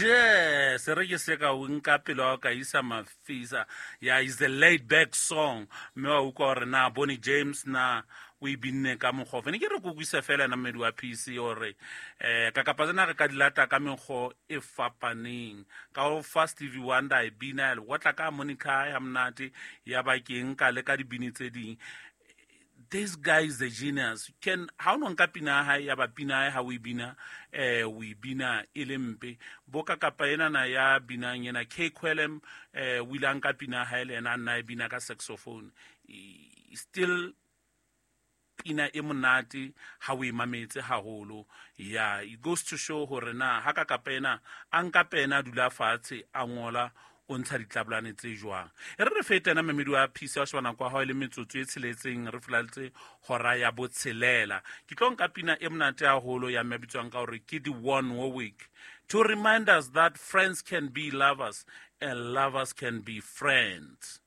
Je se re ke se ka o nka pelo wa ka isa mafisa. Ya is the laid back song. Mme wa utlwa gore na Boney James na o e binne ka mokgwa ofe. Ne ke re ko kwise fela ena mmedi wa PC gore ka kapa tsena re ka di lata ka mekgwa e fapaneng. Ka o fa Stevie Wonder e bina ya lekgotla ka Monica ya monate ya ba ke nka le ka dibini tse ding. This guy is a genius. Can ha o no nka pina ya hae ya ba pina ya hae ha o e bina, o e bina e le mpe. Boka kapa ena na ya binang ena K Quelem, o ile a nka pina ya hae le ena a nna e bina ka saxophone. Still pina e monate ha o e mametse haholo. Yeah, it goes to show hore na ha ka kapa ena a nka pena a dula fatshe a ngola o ntsha ditlabolane tse jwang. E re re fete ena memedi wa PC wa sheba nako ya hao e le metsotso e tsheletseng re fulaletse hora ya botshelela. Ke tlo nka pina e monate haholo ya mme bitswang ka hore ke Dionne Warwick, to remind us that friends can be lovers and lovers can be friends.